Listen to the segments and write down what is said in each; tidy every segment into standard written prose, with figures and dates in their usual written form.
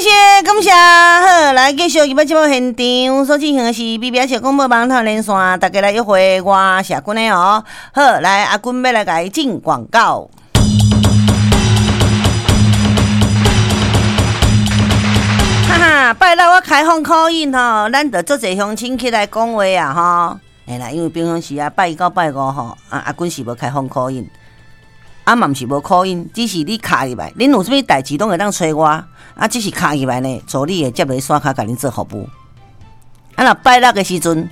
謝，感謝。好，來繼續入來節目現場所進行的是 BBS 廣播網頭連線，大家來約會，我是阿君的哦。好，來阿君欲來共伊進廣告。哈哈，拜六我開放 call in 吼，咱就足濟鄉親起來講話啊吼。嘿啦，因為平常時啊，拜一到拜五吼，啊阿君是無開放 call in。啊嘛毋是無 call in，只是你敲入來，恁有啥物代誌攏會當揣我，啊只是敲入來呢，助理會接個線跤共恁做服務。啊若拜六的時陣，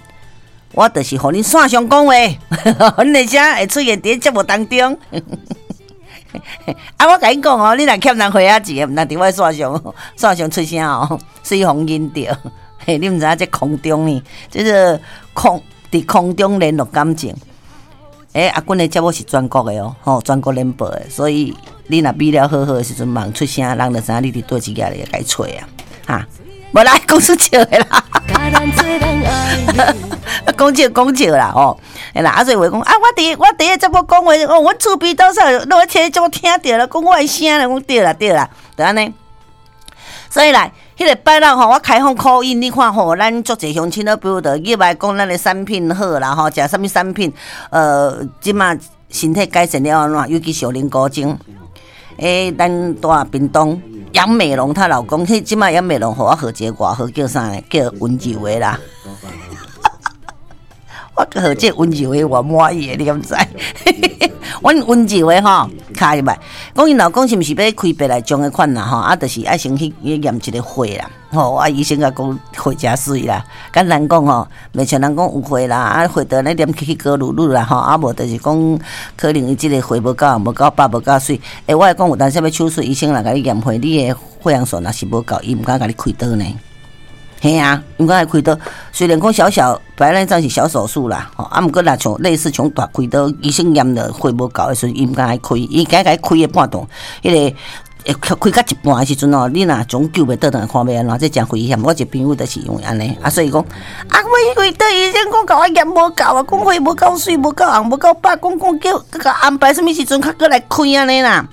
我就是予恁線上講話，阮的聲會出現佇節目當中。啊我共恁講哦，你若欠人回仔錢，毋通佇我線上線上出聲哦，水予𪜶著。嘿，你毋知影這空中呢，這個空佇空中聯絡感情。欸，阿君的節目是全國的哦，吼，全國聯播的，所以你若比了好好的時陣，茫出聲，人就知影你佇佗一个咧共伊揣啊，哈，無啦，講出笑的啦，講笑講笑啦，吼，嘿啦，啊所以話講啊，我佇个節目講話，哦，阮厝邊多少，攏咧聽節目聽著啦，講我的聲啦，講對啦對啦，就按呢。所以來，彼個拜六吼，我開放 call in，你看吼，咱足濟鄉親都比如著入來講咱的產品好啦吼，食啥物產品，這馬身體改善了按怎，尤其是靈菇精。欸，咱住屏東楊美容她老公，彼這馬楊美容予我號一個外號叫啥呢？叫溫柔的啦。我號這溫柔的我滿意的，你敢知？阮溫柔的吼，敲入來，講𪜶老公是毋是欲開白內障的款啦吼？啊，就是愛先去驗一個血啦，吼啊，醫生共講血誠媠啦，簡單講吼，袂像人講有血啦，啊，血著咧黏起去高嚕嚕啦吼，啊無就是講可能伊這個血無夠，無夠飽，無夠媠。欸，我會講有當時欲手術，醫生若共你驗血，你的血紅素若是無夠，伊毋敢共你開刀呢。嘿啊，毋敢共開刀，雖然講小小白內障是小手術啦，吼，啊，毋過若像類似像大開刀，醫生驗著血無夠的時陣，伊毋敢共開，伊敢共開的半途，彼個會開到一半的時陣哦，你若總救袂倒轉來，看欲按怎，這誠危險。我一個朋友就是因為按呢，啊，所以講，啊，我去開刀，醫生講共我驗無夠啊，講血無夠媠，無夠紅，無夠飽，講講叫閣共安排啥物時陣較閣來開按呢啦。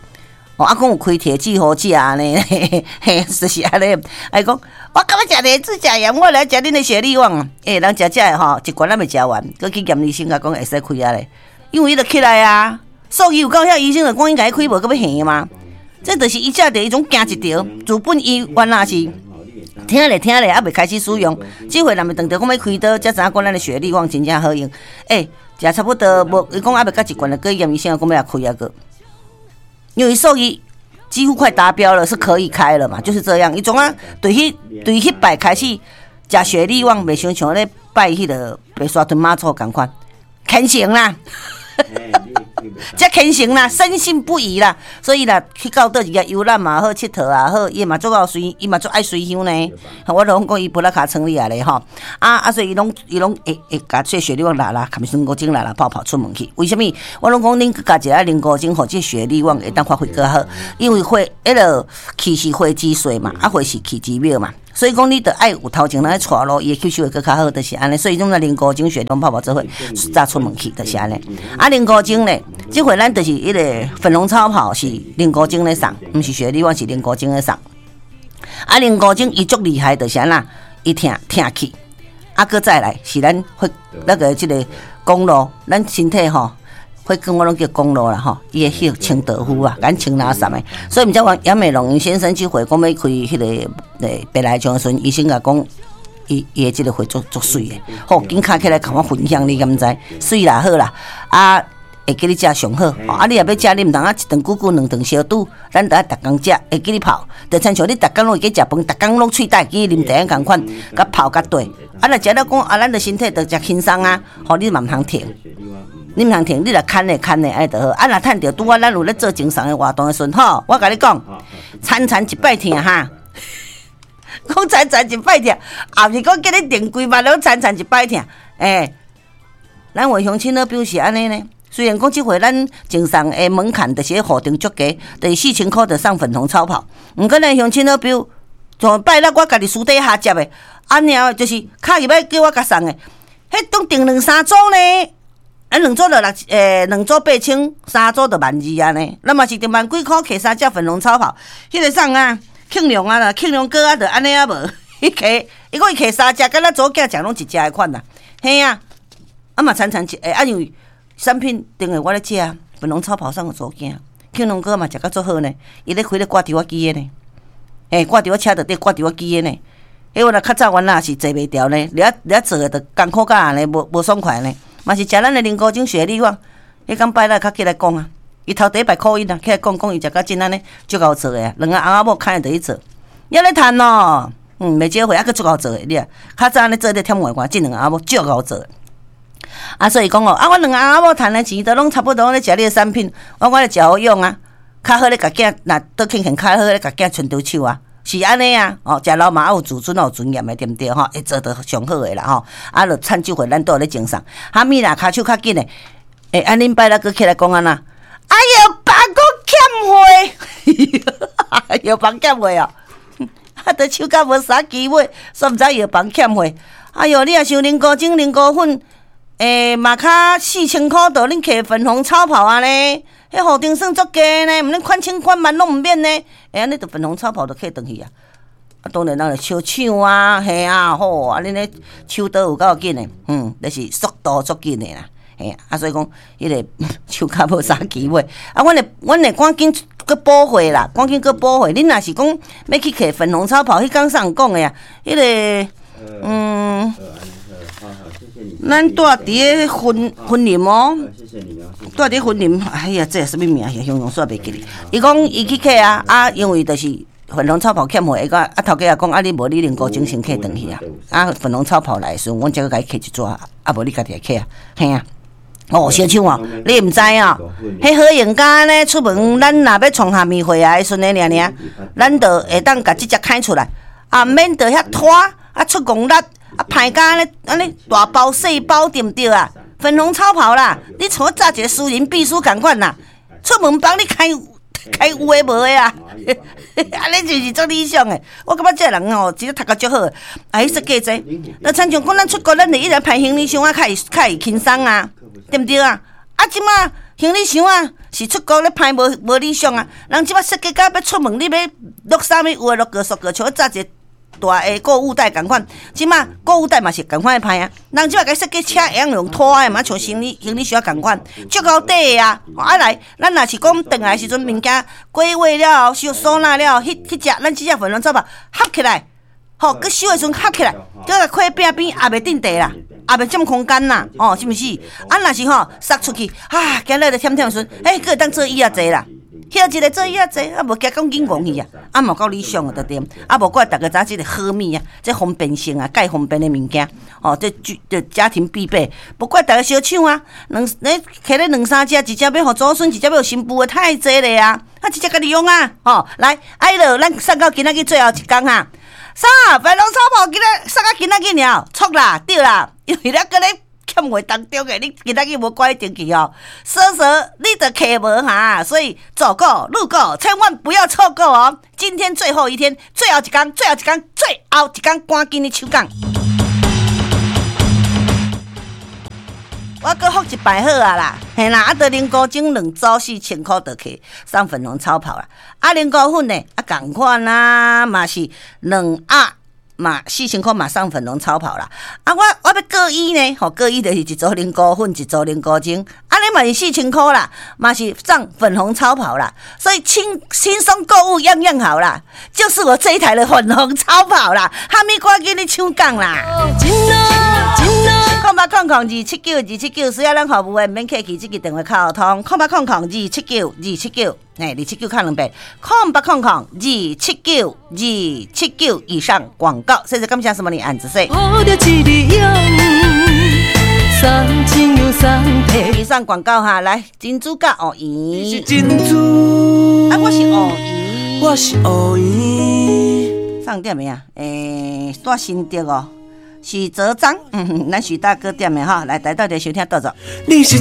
哦，啊，講有開鐵劑予食按呢，嘿，就是按呢。啊，伊講，我感覺食鐵劑食鹽，我來食恁的雪利旺。欸，人食食的吼，一罐還未食完，閣去驗醫生，共講會使開啊咧。因為伊就起來啊，數據有夠遐，醫生就講應該開，無閣欲還嗎？這就是伊食著伊總驚一條，自本伊原來是聽咧聽咧，猶未開始使用。這回若欲等著講欲開刀，才知影講咱的雪利旺真正好用。欸，食差不多無，伊講猶未到一罐，閣驗醫生講欲來開啊閣。因為數據幾乎快達標了，是可以開了嘛？就是這樣。伊總啊，對彼擺開始食雪利旺，袂像像咧拜彼個白沙屯媽祖仝款，虔誠啦。遮虔誠啦，深信不疑啦，所以啦，去到佗一个遊覽嘛好，𨑨迌也好，伊嘛足𠢕隨，伊嘛足愛隨香呢。我攏講伊菩拉卡村裡來咧吼，啊啊，所以伊攏伊攏會會共這雪利旺拉拉，含靈菇精拉拉泡泡出門去。為啥物？我攏講恁閣加一个靈菇精，予這雪利旺會當發揮閣好，因為血彼個氣是火之水嘛，啊火是氣之秒嘛。所以講，你著愛有頭前人咧帶路，伊會吸收會閣較好，就是按呢。所以種個靈菇精雪利旺泡泡做伙早出門去，就是按呢。啊，靈菇精咧，這回咱就是彼個粉紅超跑是靈菇精咧送，毋是雪利旺，是靈菇精咧送。啊，靈菇精伊足厲害，就是按怎，伊疼疼去，啊，閣再來是咱血那個這個公路，咱身體吼。血管我攏叫公路啦吼，伊會去清道夫啊，共清垃圾的。所以毋才話楊美容先生這回講欲開彼個白內障的時陣，醫生共講，伊伊的這個血足足媠的，好，緊敲起來共我分享，你敢知？媠啦好啦，啊會記你食上好，啊你若欲食，你毋通啊一頓久久，兩頓相拄，咱著愛逐工食，會記你泡，就親像你逐工攏會記食飯，逐工攏喙焦會記啉茶仝款，共泡較綴。啊若食了講啊，咱的身體著誠輕鬆啊，吼你嘛毋通停。你毋通停，你若牽的牽的按呢就好。啊，若趁著拄仔咱有咧做贈送的活動的時陣，吼，我共你講，餐餐一擺疼哈，講餐餐一擺疼，也毋是講叫你訂幾萬攏餐餐一擺疼。欸，咱有鄉親老表是按呢呢。雖然講這回咱贈送的門檻就是咧予定足低，就是4000箍就送粉紅超跑。毋過咱鄉親老表，從拜六我家己私底下接的，按呢就是敲入來叫我共送的，彼當訂兩三組呢。啊，兩組就六，欸，兩組8000，三組就1萬2按呢。咱嘛是著萬幾箍摕三隻粉紅超跑，彼個送啊，慶良啊啦，慶良哥啊，就按呢啊無，伊揢，伊講伊揢三隻，敢若查某囝食攏一隻的款啦，嘿啊，啊嘛親親一，欸，啊因為產品定的我咧食啊，粉紅超跑送予查某囝，慶良哥嘛食甲足好呢，伊咧開咧掛佇我機的呢，欸，掛佇我車內底掛佇我機的呢，彼我若較早原來是坐袂牢呢，掠掠做的就艱苦甲按呢，無無爽快呢，嘛是食咱的靈菇精雪梨我，彼工拜六較起來講啊。伊頭第一擺 call in 啊，起來講講伊食甲真按呢，足𠢕做的啊，兩個翁仔某牽伊就去做，猶咧趁哦，袂少貨，猶閣足𠢕做的，你啊，較早按呢做咧忝外看，這兩個翁仔某足𠢕做的。啊，所以講哦，啊，阮兩個翁仔某趁的錢都攏差不多咧食你的產品，我咧食好用啊，較好咧共囝若倒輕輕較好咧共囝牽著手啊，是按呢啊，哦，食老嘛有自尊有尊嚴的，對毋對吼？會做得上好的啦吼，啊，就趁這回咱都有咧精送，哈咪啦，跤手較緊的，欸，啊，恁拜六閣起來講按怎？哎藥房閣欠貨，藥房欠貨哦，啊，都手甲無啥機會，煞毋知藥房欠貨。哎喲，你若想靈菇精、靈菇粉，欸，嘛較4000箍，就恁揢粉紅超跑啊呢？彼予定算足低呢，毋免款千款萬攏毋免呢。欸，按呢就粉紅超跑就揢轉去啊。啊，當然人就相搶啊，嘿啊，好啊，恁咧手刀有夠緊的，就是速度足緊的啦。嘿啊，所以講，彼個手較無啥機會。啊，阮會趕緊閣補貨啦，趕緊閣補貨。恁若是講欲去揢粉紅超跑，彼工啥人講的啊？彼個，咱住佇咧雲雲林哦，住佇雲林。哎呀，這啥物名？形容煞袂記得。伊講伊去揢啊，啊，因為就是粉紅超跑欠貨，伊講啊，頭家也講啊，你無你靈菇精先揢轉去啊。啊，粉紅超跑來的時陣，阮才閣共伊揢一逝，啊，無你家己來揢啊，嘿啊。哦，相搶哦，你毋知哦？彼好用甲呢，出門咱若欲創下面會啊，時陣爾爾，咱就會當共這隻開出來，啊，免得遐拖，啊出戇力，啊歹甲按呢按呢大包細包對毋對啊？粉紅超跑啦，你像我紮一個私人秘書仝款啦，出門幫你開開有的無的啊，按呢就是足理想的。我感覺這個人吼，真正讀甲足好，啊，彼設計這，就親像講咱出國，咱會一直排行李箱啊，較會較會輕鬆啊。對毋對啊？啊，這馬行李箱啊，是出國咧歹無無理想啊。人這馬設計甲欲出門，你欲落啥物有的落個縮個，像我紮一個大的購物袋仝款。這馬購物袋嘛是仝款的歹啊。人這馬共設計車會曉用拖的嘛，像行李行李箱仝款，足夠短的啊。啊來，咱若是講轉來的時陣，物件歸位了後，收收納了後，彼彼隻咱這隻粉紅超跑合起來，吼，閣收的時陣合起來，閣共開餅邊也袂佔地啦。也袂佔空間啦，哦，是毋是？啊，若是吼，塞出去，啊，今日咧忝忝的時陣，欸，閣會當做椅仔坐啦，歇一下做椅仔坐，啊，無驚講緊戇去啊，啊，嘛夠理想的就對。啊，無怪逐家知影這個好物啊，這方便性啊，蓋方便的物件，哦，這這家庭必備，無怪逐家相搶啊。兩你揢咧兩三隻，一隻欲予祖孫，一隻欲予新婦的，太濟咧啊！啊，一隻家己用啊，吼，來，啊，彼落咱送到今仔日最後一工哈。啥？粉紅超跑今仔送到今仔日爾，錯啦，對啦，因為咱閣咧欠貨當中的，你今仔日無趕緊登記哦，說說你就揢無哈，所以走過路過千萬不要錯過哦！今天最後一天，最後一工，最後一工，最後一工，趕緊去搶講。我閣復一擺好啊啦，嘿啦，啊，著靈菇精兩組4000箍就去送粉紅超跑啦。啊，靈菇粉呢，啊，仝款啊，嘛是兩盒嘛4000箍嘛送粉紅超跑啦。啊，我我欲閣伊呢，吼，閣伊就是一組靈菇粉，一組靈菇精，按呢嘛是四千箍啦，嘛是送粉紅超跑啦。所以輕輕鬆購物樣樣好啦，就是我這一台的粉紅超跑啦，哈密趕緊去搶講啦。0800279279，需要咱服務的，毋免客氣，這支電話較好通。0800279279，嘿，二七九敲兩遍。0800279279，以上廣告。謝謝感謝什麼你按子說。以上廣告哈，來珍珠佮芋圓。是珍珠。啊，我是芋圓。我是芋圓。上點的啊？欸，住新竹哦。許澤章，咱許大哥點的哈，來來到底收聽倒走。你是